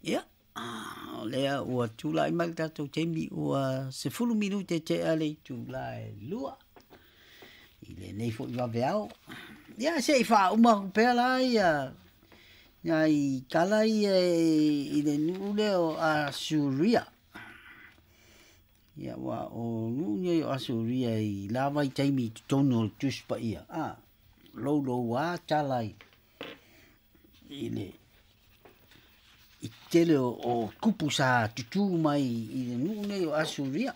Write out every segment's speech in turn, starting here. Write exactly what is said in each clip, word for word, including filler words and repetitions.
Ia, o lea ua tulai mai le tatou taimi ua sefulu minute tea le itula e lua i lenei foi vaveao. Ia, se i faauma atu pea la ia nai tala ia i le nuu lea o Asuria. Ia, ua o nuu nei o Asuria i la vaitaimi i totonu o le Tusi Paia, a, louloua tala i i le i tele o, o tupu sa tutū mai i le nuu nei o Asuria.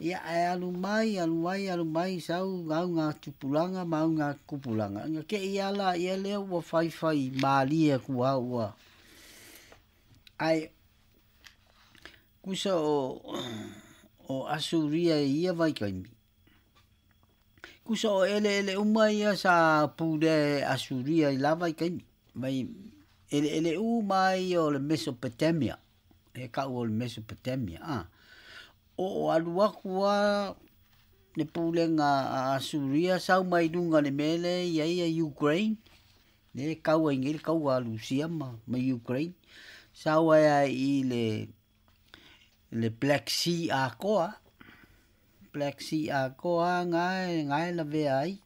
Ia, ae alu mai, alu mai, alu mai, sau gauga tupulaga ma auga kupulaga. Ina te i ala ia lea ua faifai malie atu lava ua. Ae kusa o o Asuria i ia vaitaimi. Kusa o eleele uma ia sa pulea e Asuria i la vaitaimi. Mai eleele uma ia o le Mesopotamia. E kau o le Mesopotamia. Ah. O o alu atu lava le pulega a Asuria sau mai luga i le mea lea e i ai ia Ukraine, lea e kau ai nei le kaua a Rusia ma, ma Ukraine, sau ai lava i le, le Black Sea atoa, Black Sea atoa lava na e lavea ai.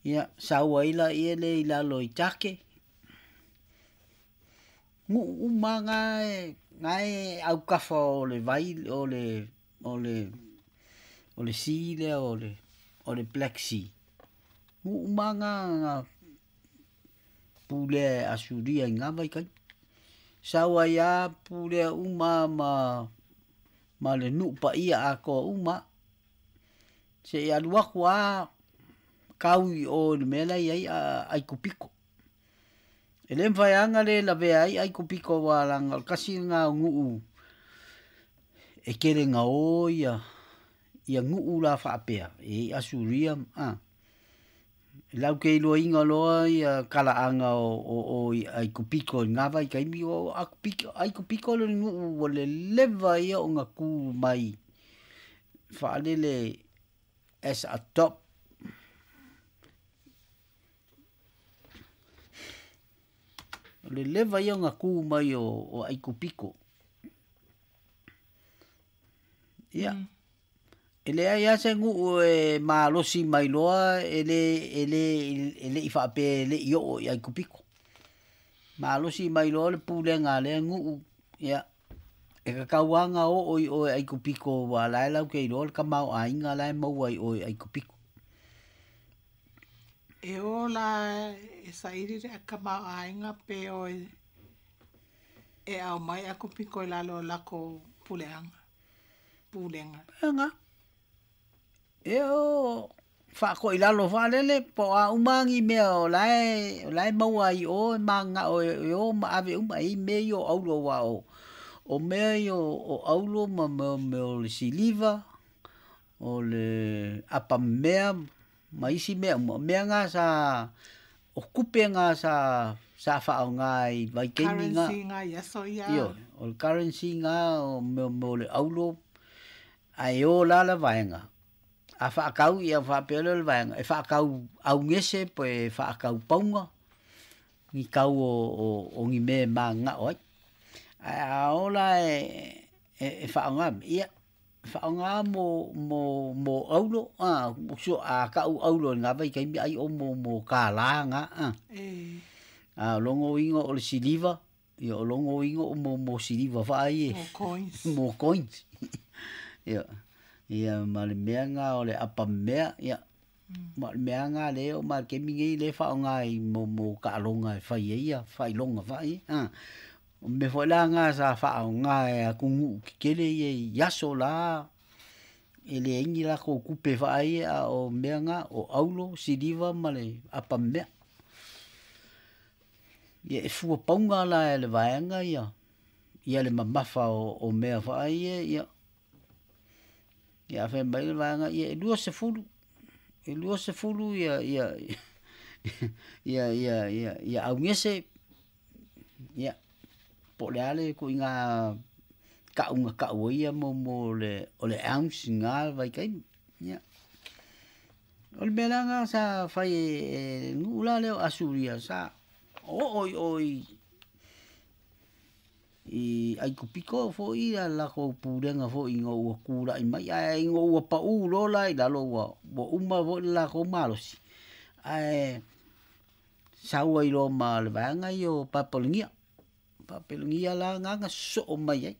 Ia, sau ai laia lea i lalo i Take. Nuu uma na e, na e aukafa o le vai, o le, o le, o le sea lea o le, o le Black Sea. Nuu uma na na pulea e Asuria i ngā vaitaimi. Sau ai lava pulea uma ma, ma le nuu paia atoa uma. Seia alu atu lava kau i o i le mea la e i ai Aikupito. E le mafai lava ona le lavea ai Aikupito aua leaga o le tasi lena o nuu e tele na o ia ia nuu la faapea e i ai Asuria a. E latou te iloaina loa ia talaaga o o o i Aikupito i na vaitaimi, o Aikupito le nuu ua leleva ia ona tu mai faalele as a top. O le leva ia ona tu mai o, o Aikupito. Ia, mm. E leai lava se nuu e malosi mai loa e le, e le, e le i faapea e le i oo i Aikupito. Malosi mai loa le pulega a lea nuu, ia, e tatau lava ona oo i o i Aikupito aua o la e latou te iloa le tamaoaiga la e maua i o i Aikupito. E o la e saili le tamaoaiga pe o e, e aumai Aikupito i lalo o lakou puleaga, pulega. Ega. E o faakoilalo faalele po o a uma ni mea o la e, o la e maua ai i o e mananao e o ma ave uma e i ai mea ia o auro aua o, o mea ia o auro ma mea o le siliva, o le apamea ma isi mea uma, o mea na sa, o tupe na sa, sa faaaoga i vaitaimi na. Currency na i aso ia. Ioe, o le currency na o mea o le auro, ae o la le vaega. A faatau ia faapea lea o le vaega, e faatau augese pe e faatau pauga, ni tau o, o, o ni mea e mananao ai. Ae a oo la e, e, e faaaoga, ia, faaaoga mo, mo, mo auro, a, a tau auro i lena vaitaimi ai o mo, mo kālā na, a. E. A o lona uiga o le siliva, ia o lona uiga o mo, mo siliva faai e. Mo coins. Mo coins. Ia, ia ma le mea na o le apamea, ia, ma o le mea na lea oo mai le taimi nei lea e faaaoga i mo, mo taaloga e fai ai ia faailoga faai, a. O mea foi la na sa faaaoga e atunuu tetele ia i aso la e leai ni latou tupe faai a o mea na o auro, siliva ma le apamea. Ia e fua pauga la e le vaega ia, ia le mamafa o, o mea faai ia, ia, ia a fai mai le vaega, ia e luasefulu, e luasefulu ia, ia, ia, ia, ia, ia augese, ia, po o le a le ituaiga tau na tau ai ia mo, mo le, o le ounce i na vaitaimi. Ia. O le mea la lena sa fai e, e le nuu la lea o Asuria, sa oo i o i, i Aikupito foʻi a lakou pulega foʻi ina ua kulaʻi mai ae ina ua paʻū loa la i lalo ua ua uma foʻi le lakou malosi ae sau ai loa ma le vaega ia o Papalagia. Papalagia la agaga sosoo mai ai.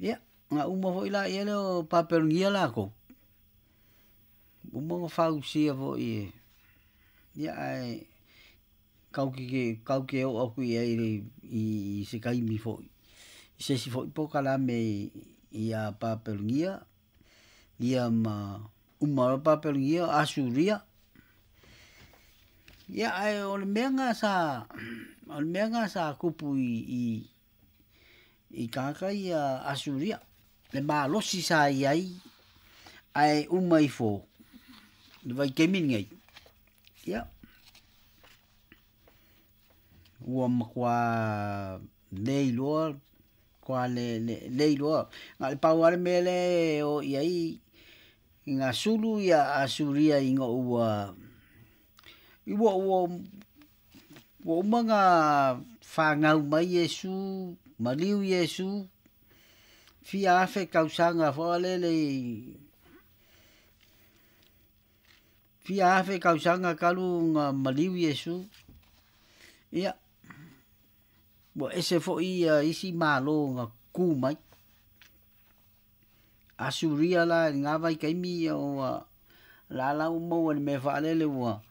Ia, na uma foʻi laia lea o Papalagia lakou, uma ona fausia foʻi e ia ae tatou te oo atu i ai i se taimi foʻi i se isi foʻi polokalame iā Papalagia ia ma uma loa Papalagia Asuria. Ia ae o le mea lena sa o le mea lena sa tupu i i i tagata ia Asuria le malosi sa i ai ae uma ifo le vaitaimi lenei. Ia ua matuā le iloa matua le le le iloa na o le pau lava le mea lea e o i ai ina sulu ia Asuria ina ua ua ua ua uma ona fanau mai Iesu, maliu Iesu, fia afe tausaga foi lele i fia afe tausaga talu ona maliu Iesu. Ia ua ese foi ia isi Malo na tutu mai. Asuria la i lena vaitaimi ia ua lala ua maua i le mea faalele ua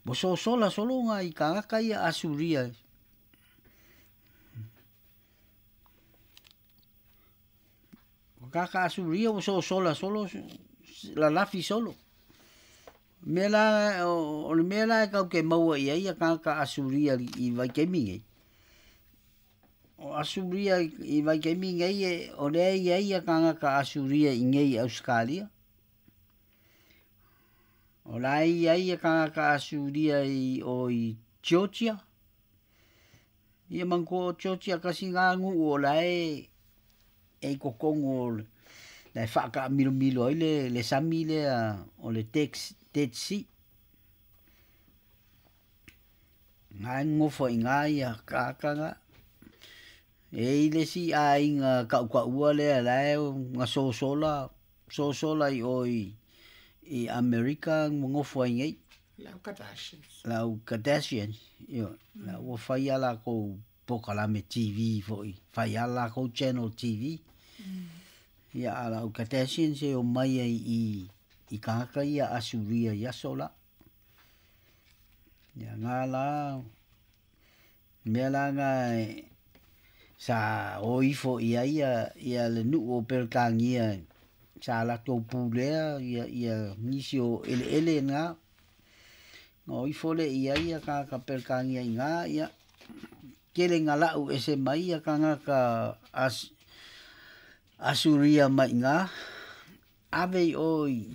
ua sosola solo nai tagata ia Asuria. O tagata Asuria ua sosola solo lalafi solo. Mea la o le mea la e tatou te maua i ai ia tagata Asuria i vaitaimi nei. O Asuria i vaitaimi nei o lea e i ai ia tagata Asuria i inei i Ausetalia. O la e i ai ia tagata Asuria i o i Georgia. Ia manatua o Georgia tasi lena nuu o la e e i totonu o la e faataamilomilo ai le le sami lea o le Dead Sea. Na e nonofo i ina ia tagata na. E i ai le isi aiga tautaua lea la e na sosola sosola i o i i Amerika nonofo ai nei. Le au Kardashians. Le au Kardashians, ioe. La ua fai lava lakou polokalame T V foʻi, fai lava lakou channel T V. Ia a o le au Kardashians e omai ai i i tagata ia Asuria i aso la. Ia na la mea la na sa o ifo i ai ia ia le nuu o Peretania sa latou pulea ia ia nisi o eleele na na o ifo lea i ai ia tagata Peretania i ina ia tele ina lau ese mai ia tagata As Asuria mai ina ave i o i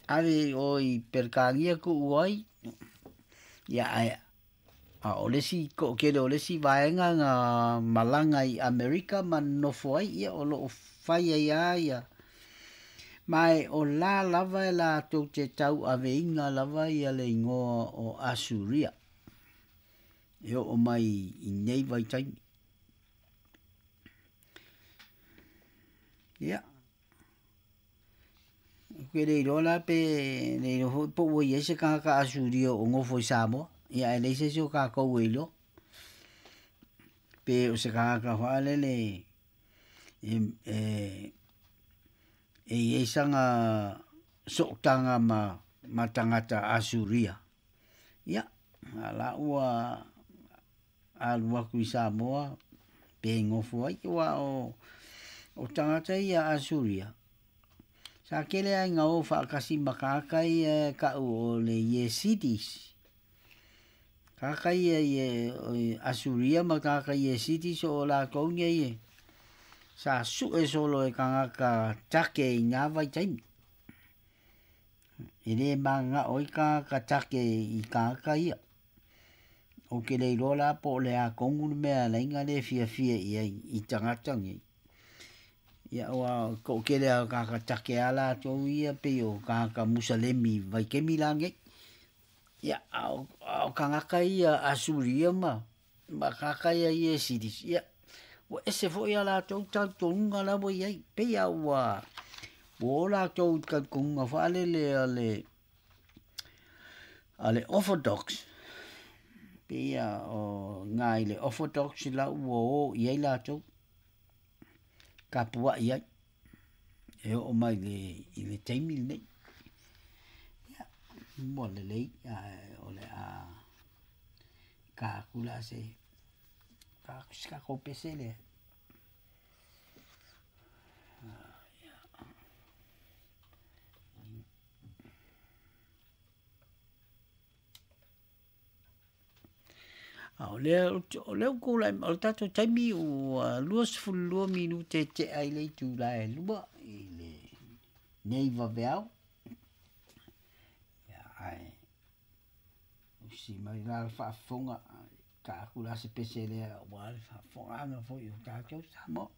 ave i o i Peretania tuu ai ia ae a o le isi toatele o le isi vaega na malaga i Amerika ma nonofo ai ia o loo fai ai lava ia ma e o la lava e latou te tauaveina lava ia le igoa o Asuria e oo mai i nei vaitaimi. Ia ou te le iloa la pe le iloa foi po ua i ai se tagata Asuria o nofo i Samoa. Ia ae leai se isi o tatou e iloa pe o se tagata faalele e e e i ai sana sootaga ma ma tagata Asuria. Ia a la ua alu atu i Samoa pe nofo ai aua o o tagata ia Asuria sa tele lava ina o faatasi ma tagata ia e tau o le Yesidis. Tagata ia i Asuria ma tagata Yesidis o latou nei e sa sue solo e tagata take i nā vaitaimi. E lē mananao ai tagata take i tagata ia. Ou te le iloa la po o le a tonu le mea e ala ai ona le fiafia i ai i tagata nei. Ia aua toatele lava o tagata take a latou ia pei o tagata Musalemi vaitaimi la nei. Ia, a o, a o tagata ia Asuria ma, ma tagata ia Iesidis, ia, ua ese foʻi a latou talitonuga la ua iai, pei a ua ua o latou i talitonuga faalele a le a le Orthodox, pei a o iga i le Orthodox la ua o i ai latou, tapuaʻi ai, e oo mai le i le taimi lenei. Ia, ua lelei, ae o le a ta atu la se ta atu se tatou pese lea. A o lea o lea ua tulai o le tatou taimi ua luasefulu lua minute e tea i le itula e lua i lenei vaveao. Ia ae usi mai la le faafofoga, ta atu la se pese lea aua le faafofogaaga foi o tatou Samoa.